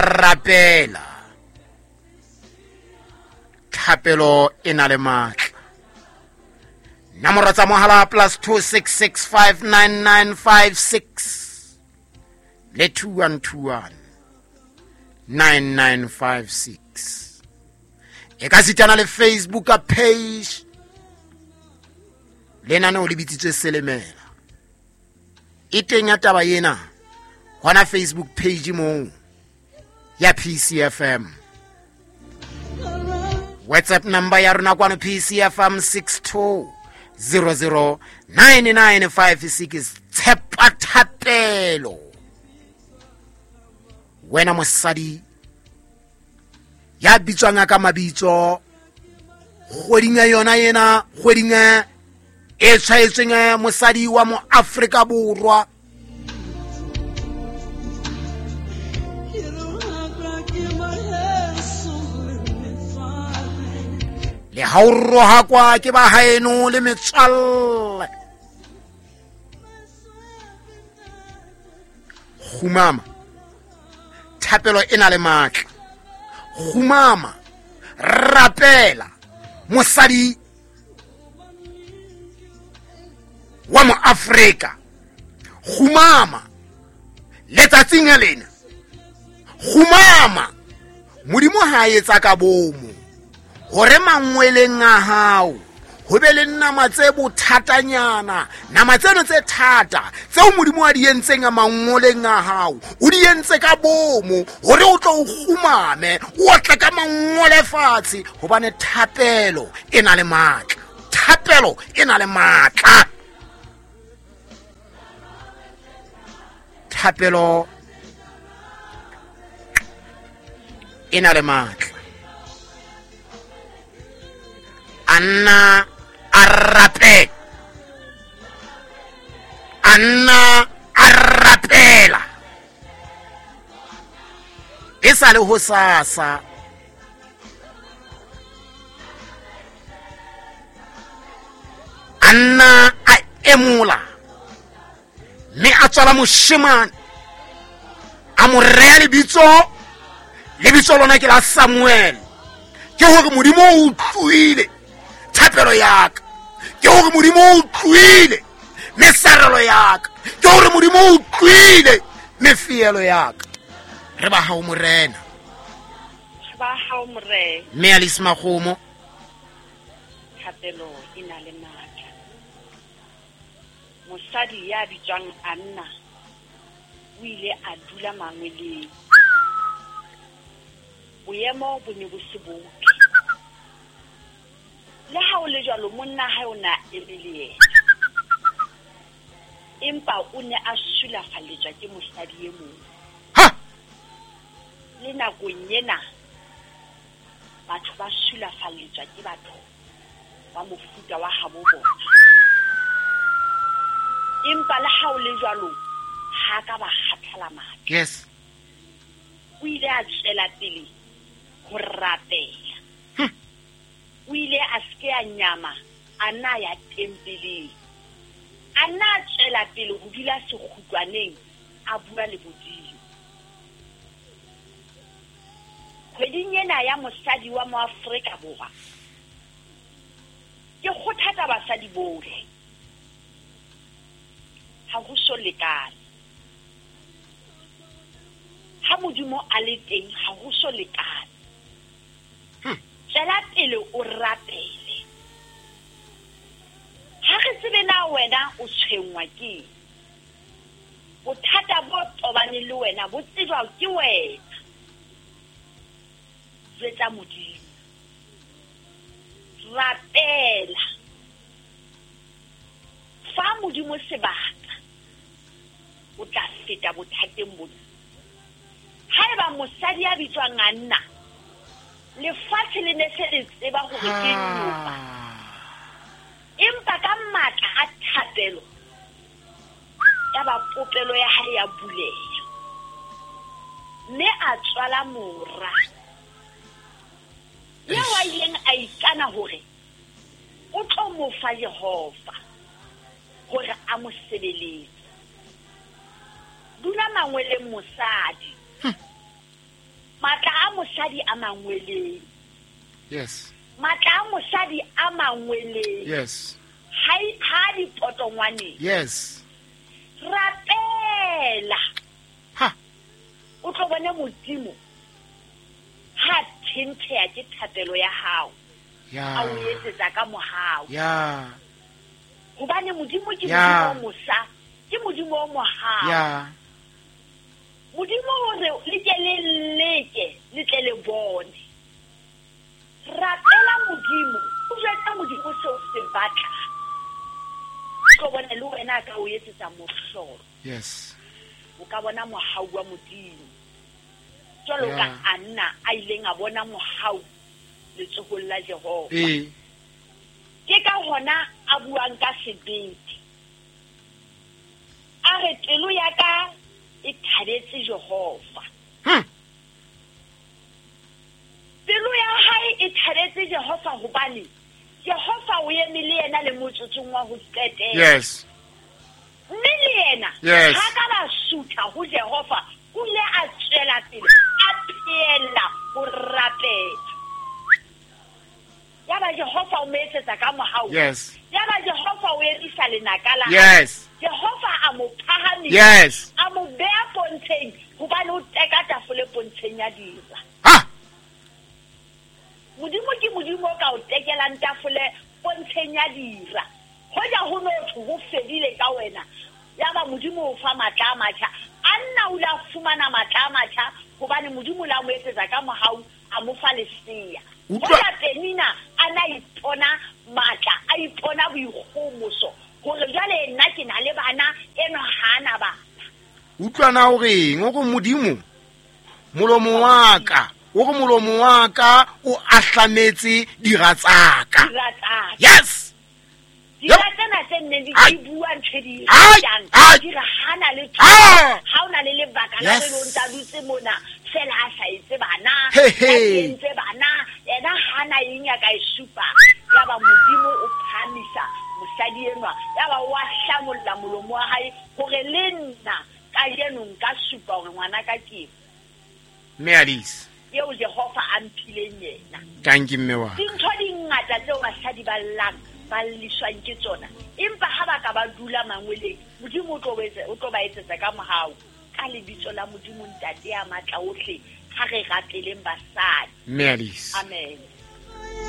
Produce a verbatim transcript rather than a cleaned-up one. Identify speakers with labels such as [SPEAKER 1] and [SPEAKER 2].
[SPEAKER 1] Rapela. Thapelo e na le matla. Nomoro tsa mohala plus two six six five nine nine five six le two one two one nine nine five six. E ka sitana le Facebook page lenaneo le bitsitswe Selemela. E teng ya taba ena hona Facebook page moo ya P C F M. WhatsApp number ya rona kwano P C F M six two zero zero nine nine five six. Tshepa thapelo. Wena mosadi ya bitswang ka mabitso kgweding ya yona ena, kgweding e tshwaetsweng mosadi wa mo Afrika Borwa. Le ha o rohakwa ke ba haeno le metswalle. Kgumama, thapelo e na le matla. Kgumama, rapela mosadi wa mo Afrika. Kgumama letsatsing lena. Kgumama, Modimo ha etsa ka bomo hore mangweleng a hao ho be le nama tse bothatanyana, nama tseno tse thata tseo Modimo a di entseng a mangweleng a hao, o di entse ka bomo hore o tlo o kgumame, o otle ka mangwele fatshe, hobane thapelo e na le matla. Thapelo e na le matla. Thapelo e na le matla. Anna a rapela. Anna a rapela. E sa le ho sasa. Anna a emola mme a tswala moshemane, a mo rea lebitso, lebitso lona ke la Samuel. Ke hore Modimo o utlwile thapelo ya ka, ke hore Modimo o utlwile mesarelo ya ka, ke hore Modimo o utlwile mefielo ya ka. Re ba hao Morena,
[SPEAKER 2] re ba hao Morena.
[SPEAKER 1] Mme Alice Makgomo,
[SPEAKER 2] thapelo e na le matla. Mosadi ya bitswang Anna o ile a dula mangweleng. Boemo bo ne bo se botle. Le ha o le jwalo, monna hae o na eme le yena, empa o ne a sulafalletswa ke mosadi e mong.
[SPEAKER 1] Ha!
[SPEAKER 2] Le nakong ena batho ba sulafalletswa ke batho ba mofuta wa habo bona, empa le ha o le jwalo ha ka ba kgathala matla.
[SPEAKER 1] Yes.
[SPEAKER 2] O ile a tswela pele ho rapela. O ile a se a nyama, a na ya tempeleng, a na tswela pele ho dula sekgutlwaneng, a bua le Modimo. Kgweding ena ya mosadi wa Moafrika Borwa, ke kgothatsa basadi bohle, ha ho so lekane. Ha Modimo a le teng, ha ho so lekane. Tswela pele o rapele. Ha re tsebe na wena o tshwenngwa ke bothata bo tobaneng le wena, bo tsejwa ke wena. Jwetsa Modimo, rapela, fa Modimo sebaka, o tla feta bothateng bona. Haeba mosadi ya bitswang Anna, lefatshe le ne se le tseba hore ke nyopa, empa ka matla a thapelo ya ba popelo ya hae ya buleha, mme a tswala mora eo a ileng a ikana hore o tlo mo fa Jehova hore a mo sebeletse. Dula mangweleng mosadi, mosadi a mangweleng.
[SPEAKER 1] Yes.
[SPEAKER 2] Matla a mosadi a mangweleng.
[SPEAKER 1] Yes.
[SPEAKER 2] Ha ha dipotongwaneng.
[SPEAKER 1] Yes.
[SPEAKER 2] Rapela.
[SPEAKER 1] Ha.
[SPEAKER 2] O tlo bona Modimo ha thentheya ke thapelo ya hao.
[SPEAKER 1] Ya.
[SPEAKER 2] A o etsetsa ka mohau.
[SPEAKER 1] Ya.
[SPEAKER 2] Hobane Modimo ke Modimo o mosa, ke Modimo o mohau.
[SPEAKER 1] Ya.
[SPEAKER 2] Modimo o re le ke le leke, le tle le bone. Rapela Modimo, o jwetsa Modimo seo se batla. Tlo bona le wena ka o etsetsa mohlolo.
[SPEAKER 1] Yes.
[SPEAKER 2] O ka bona mohau wa Modimo. Jwalo ka Anna a ileng a bona mohau letsohong la Jehova.
[SPEAKER 1] Eh.
[SPEAKER 2] Ke ka hona a buang ka sebete. A re pelo ya ka e thabetse Jehova.
[SPEAKER 1] Hm.
[SPEAKER 2] Pelo ya hae e thabetse Jehova hobane Jehova o eme le yena le motsotsong wa ho qetela.
[SPEAKER 1] Yes.
[SPEAKER 2] Mme le yena
[SPEAKER 1] yes.
[SPEAKER 2] Ha ka ba sutha ho Jehova, o ile a tswela pele a phela ho rapela. Yaba Jehova o mo etsetsa ka mohau.
[SPEAKER 1] Yes.
[SPEAKER 2] Yaba Jehova o emisa lenaka la.
[SPEAKER 1] Yes.
[SPEAKER 2] Jehova a mo phahamisa.
[SPEAKER 1] Yes.
[SPEAKER 2] A mo beha pontsheng hobane o teka tafole pontsheng ya dira.
[SPEAKER 1] Ha.
[SPEAKER 2] Modimo ke Modimo o ka o tekelang tafole pontsheng ya dira. Hoja ho no thwe ho fedile ka wena. Yaba Modimo o fa matla a matjha. Anna o la fumana matla a matjha hobane Modimo la mo etsetsa ka mohau a mo fa lesea. Hoja Penina a na ipona matla, a ipona boikgomoso hore jwale nna ke na le bana, eno ha na bana.
[SPEAKER 1] Utlwana o reng o go Modimo molomo wa ka, o go molomo wa ka o ahlametse dira tsaka.
[SPEAKER 2] Dira tsaka.
[SPEAKER 1] Yes.
[SPEAKER 2] Dira tsena tse nneng di bua ntho di jang, di re hana le thuso, ha ona le lebaka la re lo ntsa dutse mona fela a sa etse bana, a entse bana, yena hana eng ya ka e supa. Yaba Modimo o phamisa mosadi enwa, yaba o a hlamolla molomo wa hae hore le nna kajeno nka supa hore ngwana ka ke
[SPEAKER 1] Mme Alice
[SPEAKER 2] eo Jehova a mphileng yena.
[SPEAKER 1] Thank you mme wa.
[SPEAKER 2] Dintho di ngata tseo basadi ba llang ba lliswang ke tsona, empa ha ba ka ba dula mangweleng, Modimo o tlo o tlo ba etsetsa ka mohau. Ka lebitso la Modimo Ntate ya matla ohle, ha re rapeleng basadi.
[SPEAKER 1] Mme Alice.
[SPEAKER 2] Amen.